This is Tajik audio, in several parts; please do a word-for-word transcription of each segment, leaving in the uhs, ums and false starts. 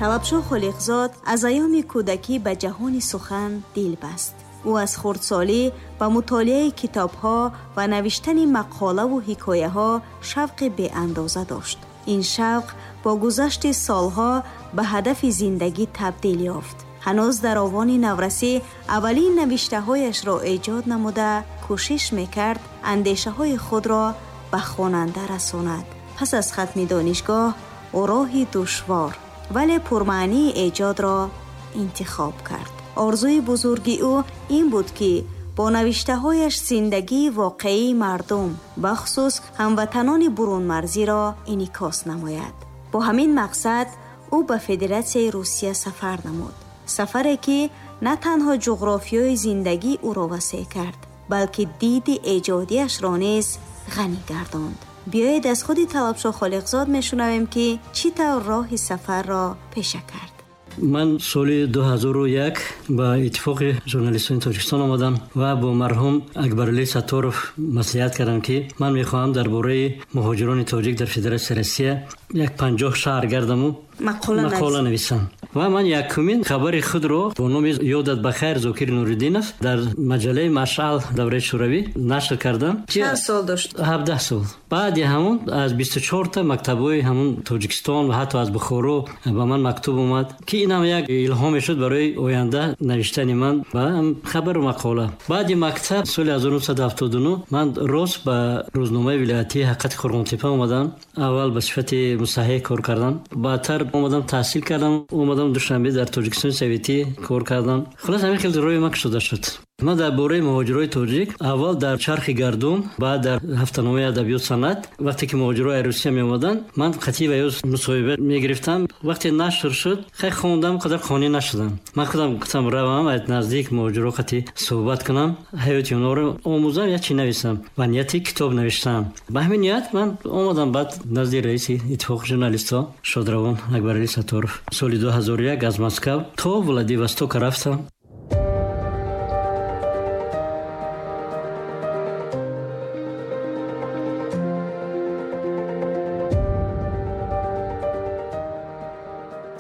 Талабшо Холиқзод аз айёми кӯдакӣ ба ҷаҳони сухан дил баст. Ӯ аз хурдсолӣ ба мутолиаи китобҳо ва навиштани мақолаву ҳикояҳо шавқи беандоза дошт. Ин шавқ бо гузашти солҳо ба ҳадафи зиндагӣ табдил ёфт. Ҳанӯз дар овони наврасӣ аввалин навиштаҳояшро эҷод намуда, кӯшиш мекард андешаҳои худро ба хонанда расонад. Пас аз хатми донишгоҳ ӯ роҳи душвор, вале пурмаънии эҷодро интихоб кард. Орзуи бузурги ӯ ин буд, ки бо навиштаҳояш зиндагии воқеии мардум, бахусус ҳамватанони бурунмарзиро инъикос намояд. Бо ҳамин мақсад ӯ ба Федератсияи Русия сафар намуд. Сафаре, ки на танҳо ҷуғрофиёи зиндагии ӯро васеъ кард, балки диди эҷодиашро низ ғанӣ гардонд. Биёед аз худи Талабшо Холиқзод мешунавем, ки чӣ тавр роҳи сафарро пеша кард. Ман соли ду ҳазору як ба Иттифоқи журналистони Тоҷикистон омадам ва бо марҳум Акбарали Сатторов маслиҳат кардам, ки ман мехоҳам дар бораи муҳоҷирони тоҷик дар Федератсияи Россия як панҷоҳ шаҳр гардаму мақола нависам. Ва ман якумин хабари худро бо номи «Ёдат ба хайр, Зокир Нуриддинов» дар маҷаллаи «Машъал» давраи Шӯравӣ нашр кардам. Чанд сол дошт? Ҳабдаҳ сол. Баъди ҳамун аз бисту чорта мактабҳои ҳамун Тоҷикистон ва ҳатто аз Бухоро ба ман мактуб омад, ки инам як илҳоме шуд барои оянда навиштани ман ба хабару мақола. Баъди мактаб соли ҳазору нӯҳсаду ҳафтоду нӯҳ ман рост ба рӯзномаи вилоятии «Ҳақиқати Қурғонтеппа» омадам. Аввал ба сифати мусаҳҳиҳ кор кардам, баъдтар омадам таҳсил кардам, омадам Душанбе дар Тоҷикистони Советӣ кор кардам. Хулос, ҳамин хел роҳи ман кушода шуд. Ман дар бораи муҳоҷирои тоҷик аввал дар «Чархи гардун», баъд дар ҳафтаномаи «Адабиёт санъат», вақте ки муҳоҷирои Русия меомаданд, ман қатъи ва ё мусоҳиба мегирифтам. Вақте нашр шуд, хай хондам, қадар қонеъ нашудам. Ман худам гуфтам равам аз наздик муҳоҷиро қатъи суҳбат кунам, ҳаёти онҳоро омӯзам, як чи нависам. Ба нияти китоб навиштам. Ба ҳамин ният ман омадам баъд назди раиси Иттифоқи журналистҳо шодравон Акбарали Сатторов. Соли ду ҳазору як аз Москав то Владивосток рафтам.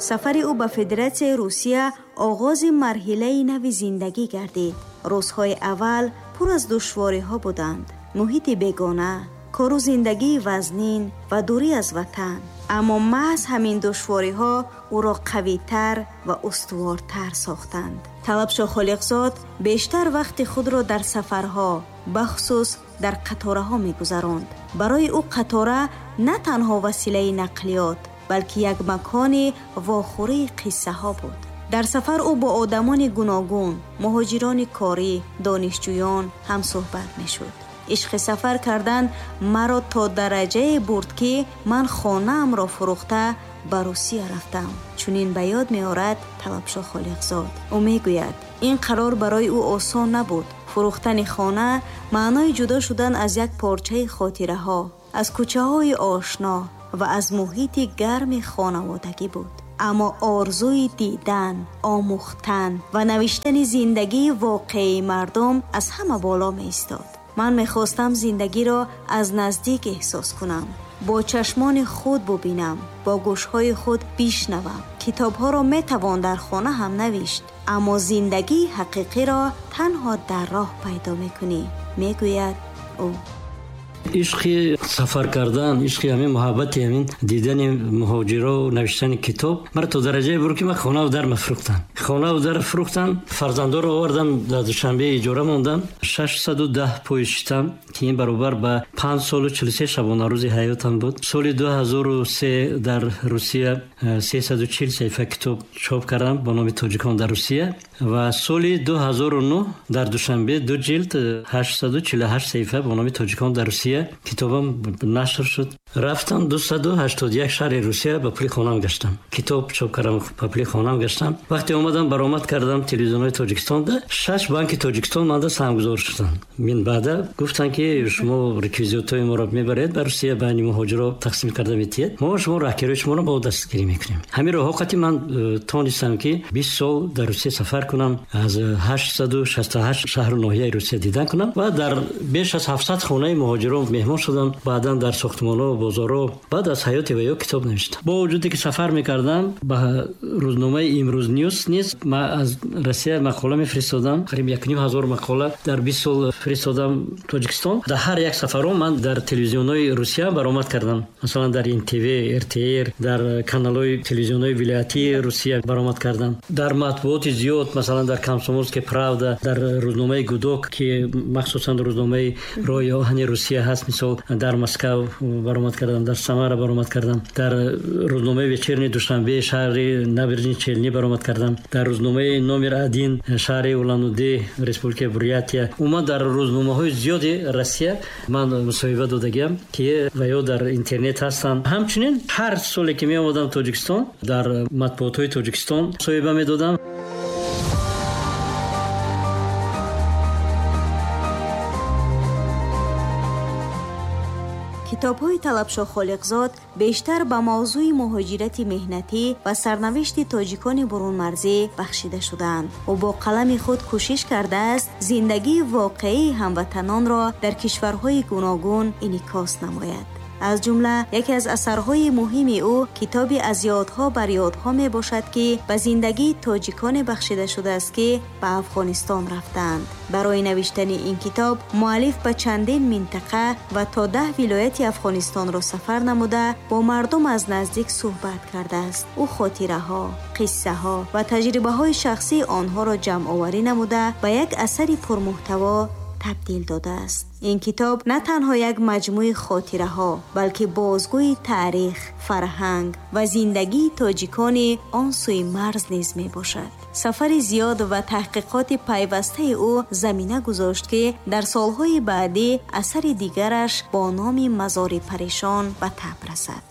Сафари ӯ ба Федератсияи Русия оғози марҳилаи нави зиндагӣ гардид. Рӯзҳои аввал пур аз душвориҳо буданд: муҳити бегона, кору зиндагии вазнин ва дурӣ аз ватан. Аммо маҳз ҳамин душвориҳо ӯро қавитар ва устувортар сохтанд. Талабшо Холиқзод бештар вақти худро дар сафарҳо, бахусус дар қатораҳо мегузаронд. Барои ӯ қатора на танҳо василаи нақлиёт, балки як макони вохӯрии қиссаҳо буд. Дар сафар ӯ бо одамони гуногун, муҳоҷирони корӣ, донишҷӯён ҳамсӯҳбат мешуд. Ишқи сафар кардан маро то дараҷае бурд, ки ман хонаамро фурӯхта ба Русия рафтам. Чунин ба ёд меорад Талабшо Холиқзод. Ӯ мегӯяд, ин қарор барои ӯ осон набуд. Фурӯхтани хона маънои ҷудо шудан аз як порчаи хотираҳо, аз кӯчаҳои ошно ва аз муҳити гарми хонаводагӣ буд. Аммо орзуи дидан, омӯхтан ва навиштани зиндагии воқеии мардум аз ҳама боло меистод. Ман мехостам зиндагиро аз наздик эҳсос кунам, бо чашмони худ бубинам, бо гӯшҳои худ бишнавам. Китобҳоро метавон дар хона ҳам навишт, аммо зиндагии ҳақиқиро танҳо дар роҳ пайдо мекунӣ, мегӯяд ӯ. Ишқи сафар кардан, ишқи ҳамин муҳаббати ҳамин дидани муҳоҷиро, навиштани китоб маро то дараҷае бурд, ки ман хонаву дар фурӯхтам. Хонаву дар фурӯхтам, фарзандоро овардам, дар Душанбе иҷора мондам. Шашсаду даҳ поезд шитам, ки ин баробар ба панҷ солу чилу се шабонарӯзи ҳаётам буд. Соли ду ҳазору се дар Русия сесаду чил саҳифа китоб чоп кардам бо номи «Тоҷикон дар Русия» ва соли ду ҳазору нӯҳ дар Душанбе ду ҷилд ҳаштсаду чилу ҳашт саҳифа бо номи «Тоҷикон дар Русия» китобам нашр шуд. Рафтам дусаду ҳаштоду як шаҳри Русия, ба пули хонам гаштам. Китоб чоп кардам, ба пули хонам гаштам. Вақте омадам баромад кардам телевизионҳои Тоҷикистонда, шаш банки Тоҷикистон манда саҳмгузор шуданд. Мин баъда гуфтанд, ки шумо реквизитҳои моро мебаред ба Русия, байни муҳоҷиро тақсим карда метиҳед, мо шумо раҳкирои шуморо бо дастгирӣ мекунем. Ҳамин роҳҳо қати ман э, тонистам, ки бист сол дар Русия сафар кунам, аз ҳаштсаду шасту ҳашт шаҳру ноҳияи Русия дидан кунам ва дар беш аз ҳафтсад хонаи муҳоҷиро меҳмон шудам, баъдан дар сохтмонҳо, бозорҳо, баъд аз ҳаёти ва ё китоб навиштам. Бо вуҷуде ки сафар мекардам, ба рӯзномаи Имрӯз Ньюс низ ман аз Россия мақола мефиристодам. Қариб як ним ҳазор мақола дар бист сол фиристодам Тоҷикистон. Дар ҳар як сафаром ман дар телевизионҳои Русия баромад кардам. Масалан дар эн тэ вэ, эр тэ эр, дар каналҳои телевизионҳои вилоятии Русия баромад кардам. Дар матбуоти зиёд, масалан дар Комсомольская правда, дар рӯзномаи Гудок, ки махсусан рӯзномаи роҳи оҳани Русия ҳаст, мисол дар Москва баромад кардам, дар Самара баромад кардам, дар рӯзномаи Вечерний Душанбе шаҳри Набережные Челны баромад кардам, дар рӯзномаи номер один шаҳри Улан-Удэ Республикаи Бурятия. Умуман дар рӯзномаҳои зиёди Россия ман мусоҳиба додагиам, ки ва ё дар интернет ҳастанд. Ҳамчунин ҳар соле ки меомадам Тоҷикистон, дар матбуотҳои Тоҷикистон мусоҳиба медодам. Китобҳои Талабшоҳ Холиқзод бештар ба мавзӯи муҳоҷирати меҳнатӣ ва сарнавишти тоҷикони бурунмарзӣ бахшида шудаанд. Ӯ бо қалами худ кӯшиш кардааст зиндагии воқеии ҳамватанонро дар кишварҳои гуногун инъикос намояд. Аз ҷумла яке аз асарҳои муҳими ӯ китоби аз ёдҳо бар ёдҳо мебошад, ки ба зиндагии тоҷиконе бахшида шудааст, ки ба Афғонистон рафтаанд. Барои навиштани ин китоб муаллиф ба чандин минтақа ва то даҳ вилояти Афғонистонро сафар намуда бо мардум аз наздик суҳбат кардааст. Ӯ хотираҳо, қиссаҳо ва таҷрибаҳои шахсии онҳоро ҷамъоварӣ намуда ба як асари пурмуҳтаво табдил додааст. Ин китоб на танҳо як маҷмӯи хотираҳо, балки бозгӯи таърих, фарҳанг ва зиндагии тоҷикони он сӯи марз низ мебошад. Сафари зиёд ва таҳқиқоти пайвастаи ӯ замина гузошт, ки дар солҳои баъдӣ асари дигараш бо номи Мазори парешон ба таб расад.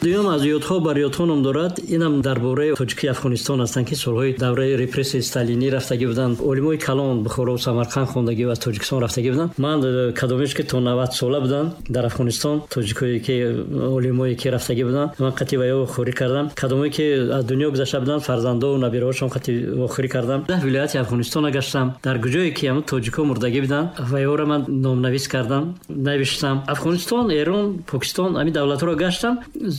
Дуюм аз ёдҳо бар ёдҳо ном дорад. Инам дар бораи тоҷики Афғонистон ҳастанд, ки солҳои давраи репрессияи сталинӣ рафтагӣ буданд. Олимои калон Бухоро, Самарқанд хондагӣ ва аз Тоҷикистон рафтагӣ буданд. Ман кадомеш ки то навад сола буданд дар Афғонистон, тоҷикое ки олимое ки рафтагӣ буданд, ман қатъи ва ё вохӯрӣ кардам. Кадомое ки аз дунё гузашта буданд, фарзандо ва набираҳошон қатъи вохӯрӣ кардам. Даҳ вилояти Афғонистона гаштам. Дар куҷое ки ҳамон тоҷико мурдагӣ буданд, ва ёро ман номнавис кардам, навиштам. Афғонистон, Эрон, Покистон, ҳамин давлатҳоро гаштам.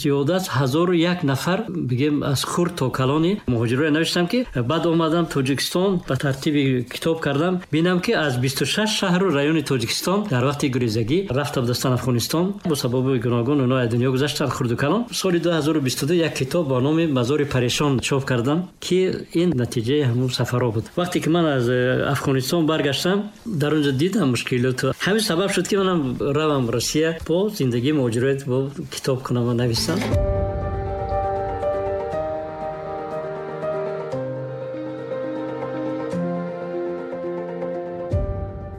Зиёда аз ҳазору як нафар, бигем аз хурд то калони муҳоҷироро навиштам, ки баъд омадам Тоҷикистон, ба тартиби китоб кардам. Бинам, ки аз бисту шаш шаҳру райони Тоҷикистон дар вақти гурезагӣ рафта будастанд Афғонистон. Бо сабаби гуногун онҳо аз дунё гузаштанд, хурду калон. Соли ду ҳазору бисту ду як китоб бо номи Мазори парешон чоп кардам, ки ин натиҷаи ҳамон сафарҳо буд. Вақте ки ман аз Афғонистон баргаштам, дар онҷо дидам мушкилоту. Ҳамин сабаб шуд, ки манам равам Россия, бо зиндагии муҳоҷирот бо китоб кунам ва нависам.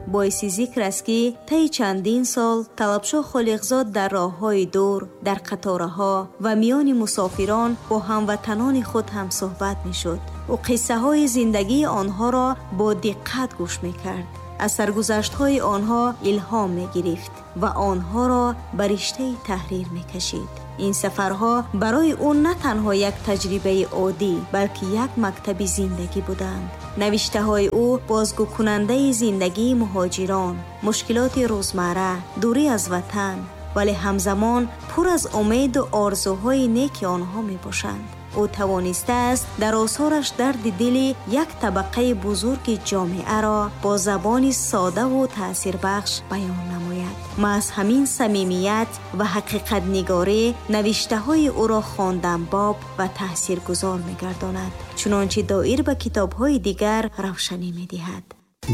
Боиси зикр аст, ки таи чандин сол Талабшоҳ Холиқзод дар роҳҳои дур, дар қатораҳо ва миёни мусофирон бо ҳамватанони худ ҳамсӯҳбат мешуд. Ӯ қиссаҳои зиндагии онҳоро бо диққат гӯш мекард, аз саргузаштҳои онҳо илҳом мегирифт ва онҳоро ба риштаи таҳрир мекашид. Ин сафарҳо барои ӯ на танҳо як таҷрибаи оддӣ, балки як мактаби зиндагӣ буданд. Навиштаҳои ӯ бозгӯкунандаи зиндагии муҳоҷирон, мушкилоти рӯзмарра, дурӣ аз ватан, вале ҳамзамон пур аз умеду орзуҳои неки онҳо мебошанд. Ӯ тавонистааст дар осораш дарди дили як табақаи бузурги ҷомеаро бо забони содаву таъсирбахш баён намояд. Маҳз ҳамин самимият ва ҳақиқатнигорӣ навиштаҳои ӯро хонданбоб ва таъсиргузор мегардонад, чунончи доир ба китобҳои дигар равшанӣ медиҳад.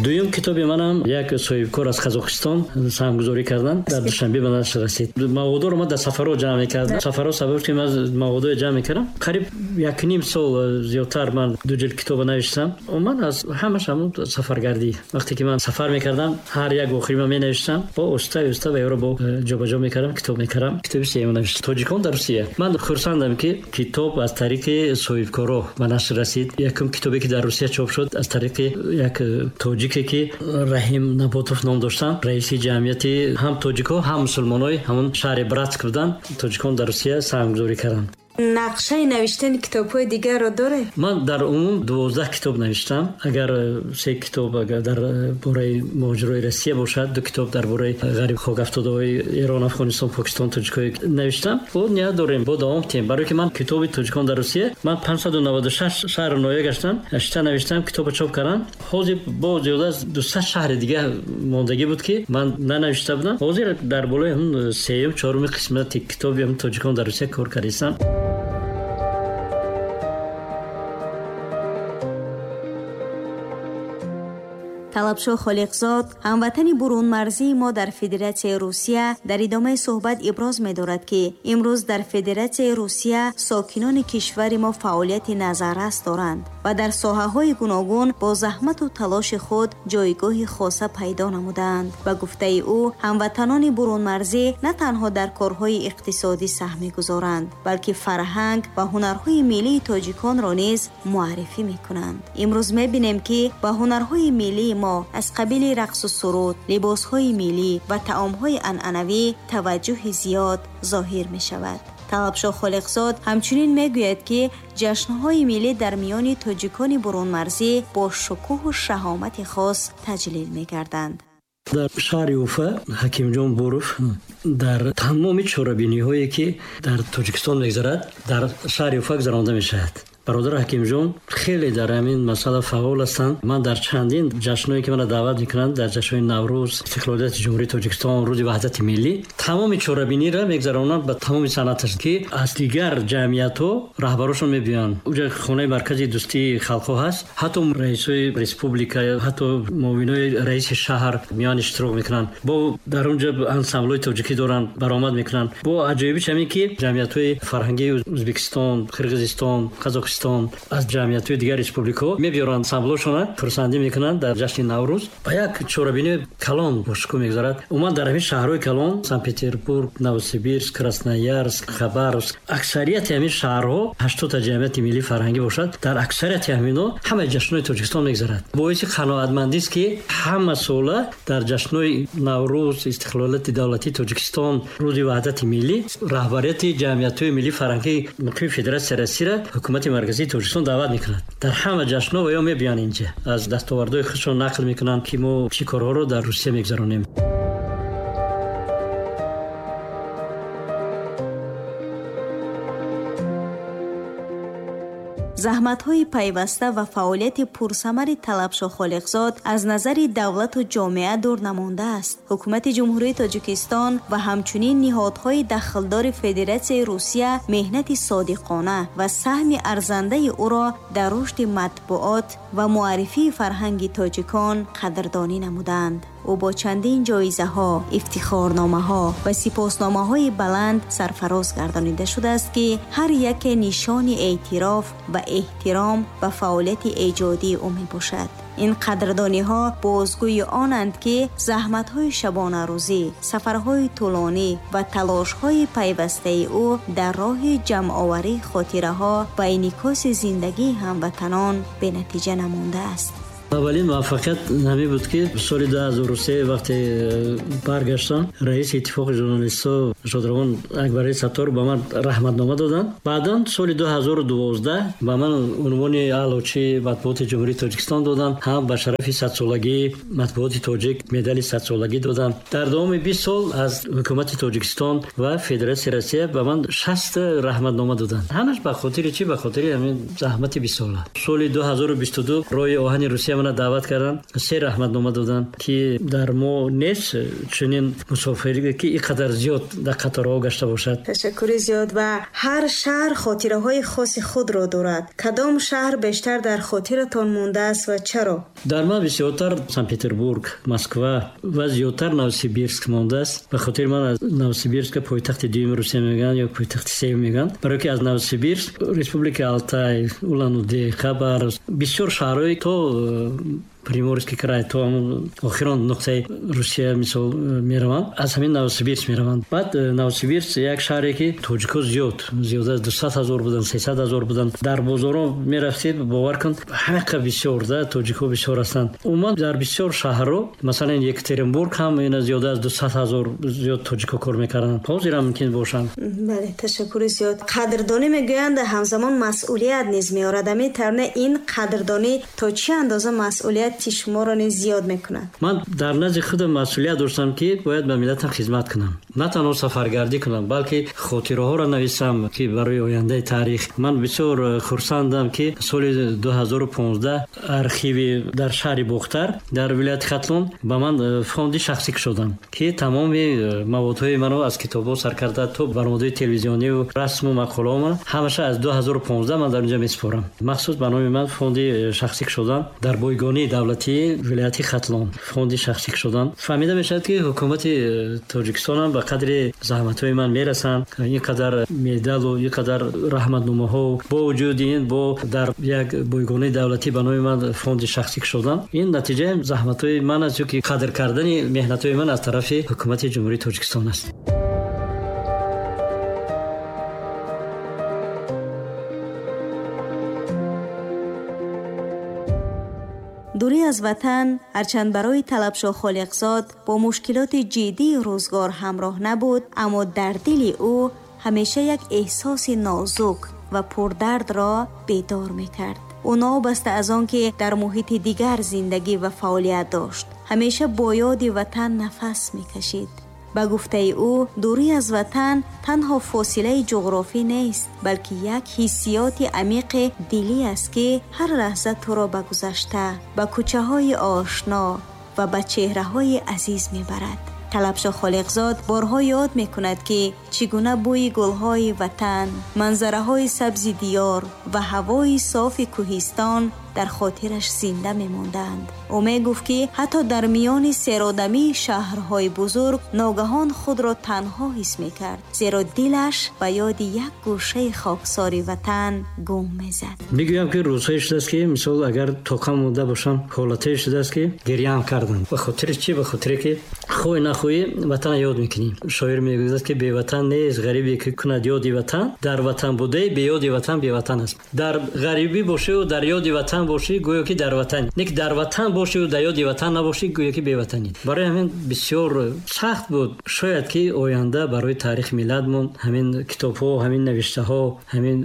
Дуюм китоби манам як соҳибкор аз Қазоқистон саҳмгузорӣ карданд, дар Душанбе ба нашр расид. Маводоро ман дар сафарҳо ҷамъ мекардам. Сафарҳо сабаб ки ман маводоро ҷамъ мекардам. Қариб як ним сол зиёдтар ман ду ҷилд китобро навиштам. Ман аз ҳамаш ҳамон сафаргардӣ. Вақте ки ман сафар мекардам, ҳар як охири ман менавиштам, бо оста оста ва ёро бо ҷобаҷо мекардам, китоб мекардам. Китоби сеюм навиштам. Тоҷикон дар Русия. Ман хурсандам, ки китоб аз тариқи соҳибкорҳо ба нашр расид. Якум китобе ки дар Русия чоп шуд аз тариқи як тоҷике ки Раҳим Наботов ном доштанд, раиси ҷамъияти ҳам тоҷикҳо ҳам мусулмонҳои ҳамон шаҳри Братск буданд. Тоҷикон дар Русия саҳмгузорӣ карданд. Нақшаи навиштани китобҳои дигарро доред? Ман дар умум дувоздаҳ китоб навиштам. Агар се китоб агар дар бораи муҳоҷирои Россия бошад, ду китоб дар бораи ғариб хок афтодаҳои Эрон, Афғонистон, Покистон, тоҷикҳои навиштам. Бо ният дорем, бо давом тем. Барои ки ман китоби тоҷикон дар Русия, ман панҷсаду наваду шаш шаҳру ноҳия гаштам, шита навиштам, китобро чоп кардам. Ҳозир бо зиёда аз дусад шаҳри дига мондагӣ буд, ки ман нанавишта будам. Ҳозир дар болои ҳамн сеюм, чоруми қисмати китоби ҳамн тоҷикон дар Русия кор кардистам. Талабшоҳ Холиқзод, ҳамватани бурунмарзии мо дар Федератсияи Русия, дар идомаи суҳбат иброз медорад, ки имрӯз дар Федератсияи Русия сокинони кишвари мо фаъолияти назаррас доранд ва дар соҳаҳои гуногун бо заҳмату талоши худ ҷойгоҳи хоса пайдо намудаанд. Ба гуфтаи ӯ, ҳамватанони бурунмарзӣ на танҳо дар корҳои иқтисодӣ саҳм мегузоранд, балки фарҳанг ва ҳунарҳои миллии тоҷиконро низ муаррифӣ мекунанд. Имрӯз мебинем, ки ба ҳунарҳои миллии мо аз қабили рақсу суруд, либосҳои миллӣ ва таомҳои анъанавӣ таваҷҷӯҳи зиёд зоҳир мешавад. Талабшоҳ Холиқзод ҳамчунин мегӯяд, ки ҷашнҳои миллӣ дар миёни тоҷикони бурунмарзӣ бо шукӯҳу шаҳомати хос таҷлил мегарданд. Дар шаҳри Уфа Ҳакимҷон Буров дар тамоми чорабиниҳое, ки дар Тоҷикистон мегузарад, дар шаҳри Уфа гузаронда мешавад. Бародар Ҳакимҷон хеле дар ҳамин масъала фаъол ҳастанд. Ман дар чандин ҷашнҳое, ки маро даъват мекунанд, дар ҷашнҳои Наврӯз, истиқлолияти Ҷумҳурии Тоҷикистон, рӯзи ваҳдати миллӣ, тамоми чорабиниро мегузаронанд ба тамоми санъаташ, ки аз дигар ҷамъиятҳо раҳбарошон мебиёянд. Уҷа хонаи маркази дӯстии халқҳо ҳаст, ҳатто раисҳои республика, ҳатто муовинои раиси шаҳр миён иштирок мекунанд. Бо дар онҷа ансамблҳои тоҷикӣ доранд, баромад мекунанд. Бо аҷоибиш ҳамин, ки ҷамъиятҳои фарҳангии Ӯзбекистон, Қирғизистон, Қазоқистон аз ҷамъиятҳои дигар республикаҳо мебиёранд ансамблҳошона, хурсандӣ мекунанд дар ҷашни Наврӯз. Ба як чорабини калон бошукӯҳ мегузарад. Умуман дар ҳамин шаҳрҳои калон Санкт-Петербург, Новосибирск, Красноярск, Хабаровск, аксарияти ҳамин шаҳрҳо ҳаштодта ҷамъияти миллии фарҳангӣ бошад, дар аксарияти ҳаминҳо ҳамаи ҷашнҳои Тоҷикистон мегузарад. Боиси қаноатмандист, ки ҳама сола дар ҷашнҳои Наврӯз, истиқлолияти давлатии Тоҷикистон, рӯзи ваҳдати миллӣ раҳбарияти ҷамъиятҳои миллии фарҳангии муқими Федератсияи Россияро ҳукумати марказии Тоҷикистон даъват мекунад. Дар ҳама ҷашнҳо ва ё мебиёянд инҷа, аз дастовардҳои худшон нақл мекунанд, ки мо чӣ корҳоро дар Русия мегузаронем. Заҳматҳои пайваста ва фаъолияти пурсамари Талабшоҳ Холиқзод аз назари давлату ҷомеа дур намондааст. Ҳукумати Ҷумҳурии Тоҷикистон ва ҳамчунин ниҳодҳои дахлдори Федератсияи Русия меҳнати содиқона ва саҳми арзандаи ӯро дар рушди матбуот ва муаррифии фарҳанги тоҷикон қадрдонӣ намуданд. Ӯ бо чандин ҷоизаҳо, ифтихорномаҳо ва сипосномаҳои баланд сарфароз гардонида шудааст, ки ҳар яке нишони эътироф ва эҳтиром ба фаъолияти эҷодии ӯ мебошад. Ин қадрдониҳо бозгӯи онанд, ки заҳматҳои шабонарӯзӣ, сафарҳои тӯлонӣ ва талошҳои пайвастаи ӯ дар роҳи ҷамъоварии хотираҳо ва инъикоси зиндагии ҳамватанон бенатиҷа намондааст. Аввалин муваффақият ҳамин буд, ки соли ду ҳазору се вақте баргаштам, раиси иттифоқи журналистҳо шодравон Акбари Саттор ба ман раҳматнома доданд. Баъдан соли ду ҳазору дувоздаҳ ба ман унвони аълочии матбуоти Ҷумҳурии Тоҷикистон доданд, ҳам ба шарафи садсолагии матбуоти тоҷик медали садсолагӣ доданд. Дар давоми бист сол аз ҳукумати Тоҷикистон ва Федератсияи Россия ба ман шаст раҳматнома доданд. Ҳамаш ба хотири чӣ? Ба хотири ҳамин заҳмати бистсола. Соли ду ҳазору бисту ду роҳи оҳани Русия мана даъват карданд, се раҳматнома доданд, ки дар мо нест чунин мусофире, ки ин қадар зиёд дар қаторҳо гашта бошад. Ташаккури зиёд. Ва ҳар шаҳр хотираҳои хоси худро дорад. Кадом шаҳр бештар дар хотиратон мондааст ва чаро? Дар ман бисёртар Санкт-Петербург, Москва ва зиёдтар Новосибирск мондааст. Ба хотири ман аз Новосибирска пойтахти дуюми Русия мегӯянд ё пойтахти сеюм мегӯянд, барое ки аз Новосибирск Республикаи Алтай, Улан-Удэ, Хабаровск, бисёр шаҳрҳои то Приморский край то охирон нуқтаи Русия мисол мераванд, аз ҳамин Новосибирск мераванд. Баъд Новосибирск як шаҳре ки тоҷикҳо зиёд, зиёд аз дусад ҳазор буданд, сесад ҳазор буданд. Дар бозорҳо мерафтед, бовар кун, ҳамақа бисёр да тоҷикҳо бисёр ҳастанд. Умуман дар бисёр шаҳрҳо, масалан Екатеринбург ҳам ина зиёд аз дусад ҳазор зиёд тоҷикҳо кор мекарданд. Ҳозир ҳам мумкин бошанд. Бале, ташаккури зиёд. Қадрдонӣ мегӯянд, ҳамзамон масъулият низ меорад. Ҳамин тарона ин қадрдонӣ то чӣ андоза масъулияти шуморо низ зиёд мекунад? Ман дар назди худам масъулият доштам ки бояд ба миллатам хизмат кунам. На танҳо сафаргардӣ кунам, балки хотираҳоро нависам ки барои ояндаи таърих. Ман бисёр хурсандам ки соли ду ҳазору понздаҳ архиви дар шаҳри Бохтар дар вилояти Хатлон ба ман фонди шахсӣ кушоданд ки тамоми маводҳои маро аз китобҳо сар карда то барномаҳои телевизионию расму мақолаҳо ман ҳамаша аз ду ҳазору понздаҳ ман дар онҷо месупорам. Махсус ба номи ман фонди шахсӣ кушоданд дар бойгонии давлатии вилояти Хатлон фонди шахсӣ кушоданд. Фаҳмида мешавад ки ҳукумати Тоҷикистон ҳам ба қадри заҳматҳои ман мерасанд. Ин қадар медалу ин қадар раҳматномаҳо бо вуҷуди ин бо дар як бойгонии давлатӣ ба номи ман фонди шахсӣ кушоданд. Ин натиҷаи заҳматҳои ман аст, ки қадр кардани меҳнатҳои ман аз тарафи ҳукумати Ҷумҳурии Тоҷикистон аст. Дурӣ аз ватан ҳарчанд барои Талабшоҳ Холиқзод бо мушкилоти ҷиддии рӯзгор ҳамроҳ набуд, аммо дар дили ӯ ҳамеша як эҳсоси нозук ва пурдардро бедор мекард. Ӯ новобаста аз он ки дар муҳити дигар зиндагӣ ва фаъолият дошт, ҳамеша бо ёди ватан нафас мекашид. Ба гуфтаи ӯ, дурӣ аз ватан танҳо фосилаи ҷуғрофӣ нест, балки як ҳиссиёти амиқи дилӣ аст, ки ҳар лаҳза туро ба гузашта, ба кӯчаҳои ошно ва ба чеҳраҳои азиз мебарад. Талабшоҳ Холиқзод борҳо ёд мекунад, ки чӣ гуна бӯи гулҳои ватан, манзараҳои сабзи диёр ва ҳавои софи кӯҳистон дар хотираш зинда мемонданд. Ӯ мегуфт, ки ҳатто дар миёни серодамии шаҳрҳои бузург ногаҳон худро танҳо ҳис мекард, зеро дилаш ба ёди як гӯшаи хоксори ватан гум мезад. Мегӯям ки рӯзҳое шудааст, ки мисол агар тоқам монда бошам, ҳолатҳое шудааст, ки гиряам кардам. Ба хотири чӣ? Ба хотире ки хоҳӣ нахоҳӣ ватанро ёд мекунӣ. Шоир мегӯяд, ки беватан нест ғарибе ки кунад ёди ватан, дар ватан будаи беёди ватан беватан аст. Дар ғарибӣ бошиву дар ёди ватан бошӣ, гӯё ки дар ватан. Не ки дар ватан бошиву дар ёди ватан набошӣ, гӯё ки беватанӣ. Барои ҳамин бисёр сахт буд. Шояд ки оянда барои таърихи миллатмон ҳамин китобҳо, ҳамин навиштаҳо, ҳамин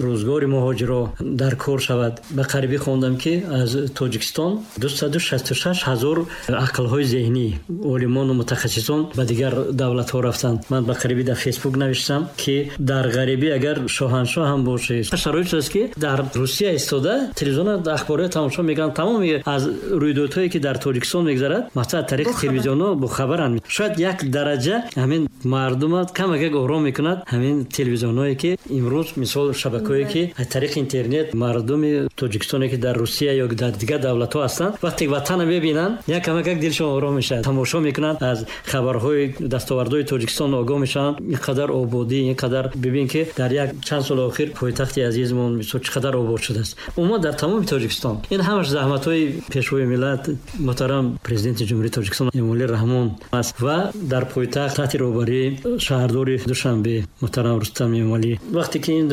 рӯзгори муҳоҷиро дар кор шавад. Ба қарибӣ хондам, ки аз Тоҷикистон дусаду шасту шаш ҳазор ақлҳои зеҳнӣ, олимону мутахассисон ба дигар давлатҳо рафтанд. Ман ба қарибӣ дар Фейсбук навиштам, ки дар ғарибӣ агар шоҳаншоҳ ҳам бошӣ, шароит аст, ки дар Русия истода телевизион ахборҳои тамошо мекунанд, тамоми аз рӯйдодҳое ки дар Тоҷикистон мегузарад, масалан аз тариқи телевизионҳо бохабаранд. Шояд як дараҷа ҳамин мардумат камакак ором мекунад ҳамин телевизионҳое ки имрӯз мисол шабакаҳое ки аз тариқи интернет мардуми Тоҷикистоне ки дар Русия ё дар дигар давлатҳо ҳастанд, вақте ватанро мебинанд, як камакак дилшон ором мешавад, тамошо мекунанд, аз хабарҳои дастовардҳои Тоҷикистон огоҳ мешаванд. Ин қадар ободӣ, ин қадар бибин ки дар як чанд соли охир пойтахти азизмон мисол чӣ қадар обод шудааст. Умуман дар тамоми Тоҷикистон. Ин ҳамаш заҳматҳои пешвои миллат муҳтарам президенти Ҷумҳурии Тоҷикистон Эмомалӣ Раҳмон аст ва дар пойтахт таҳти роҳбарии шаҳрдори Душанбе муҳтарам Рустам Эмомалӣ. Вақте ки ин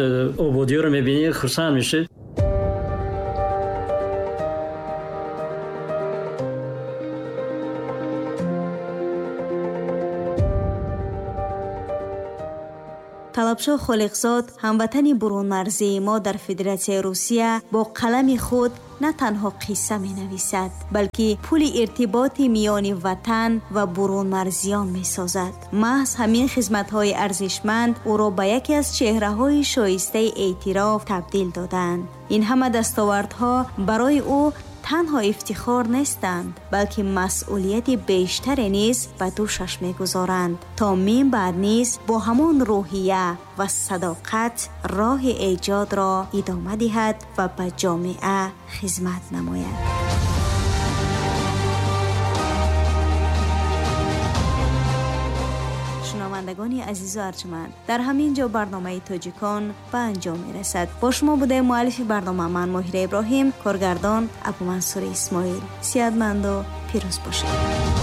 ободиҳоро мебинӣ, хурсанд мешавӣ. Талабшоҳ Холиқзод, ҳамватани бурунмарзии мо дар Федератсияи Русия, бо қалами худ на танҳо қисса менависад, балки пули иртиботи миёни ватан ва бурунмарзиён месозад. Маҳз ҳамин хизматҳои арзишманд ӯро ба яке аз чеҳраҳои шоистаи эътироф табдил доданд. Ин ҳама дастовардҳо барои ӯ танҳо ифтихор нестанд, балки масъулияти бештаре низ ба дӯшаш мегузоранд, то мин баъд низ бо ҳамон рӯҳия ва садоқат роҳи эҷодро идома диҳад ва ба ҷомеа хизмат намояд. Шунавандагони азизу арҷманд, дар ҳамин ҷо барномаи Тоҷикон ба анҷом мерасад. Бо шумо будаем муаллифи барнома ман, Моҳира Иброҳим, коргардон Абумансури Исмоил. Сиҳатманду пирӯз бошед.